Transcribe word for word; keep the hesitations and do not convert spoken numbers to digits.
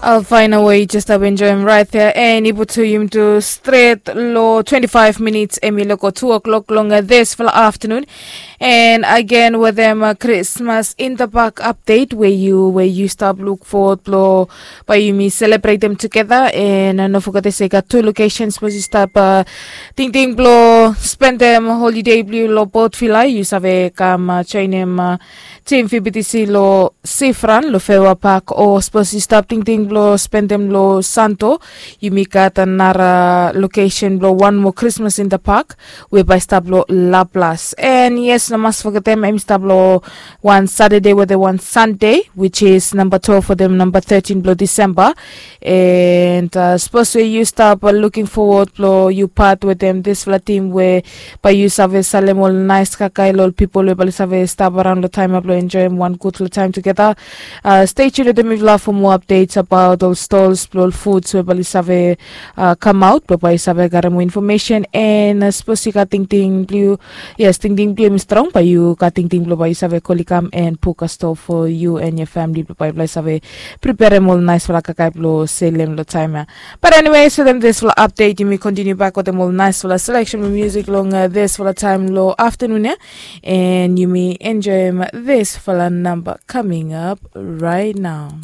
Al faina we yu jes stap enjoim rait ya, and i putum tu stret long twenti faiv minits em i loko tu o'clock long disfala aftanun. And agen wetem krismas in the park update we yu we yu stap luk fowod blong bai yumi selebretem tugeta. And no fogetem se i gat tu lokesen sapos yu stap tingting blong spendem holide blong yu long bot vila, yu save kam joinim tim fibitisi long sifran long fewa pak, o sapos yu stap tingting blong spendem long santo, yumi gat nara lokesen blong wan moa krismas in the park we bai stap long laplas. And yes, no mas fogetem em i stap long wan satade wetem wan sande, which is namba twelve wetem namba thirteen blong disemba. And sapos we yu stap luking fowod blong yu pat wetem disfala tim we bai yu save salem ol nais kakae long ol pipol we bai save stap araon long taim ya blong enjoim wan gudfala taim tugeta. Stay tuned wetem mifala for more updates about ol stalls blong ol foods we bai save kamaut blong bai save garem more information. And sapos yu gat tingting blong yu, yes, tingting blong yu em i strong, bai yu gat tingting blong bai yu save koli kam and buka stoa for you and your family blong bai bai save preperem ol naisfala kakae blong selem long taim ya. But anyways, wetem disfala update yumi kontiniu bak wetem ol naisfala selection blong music long disfala taim long aftanun ya. And yumi enjoim disfala namba coming up right now.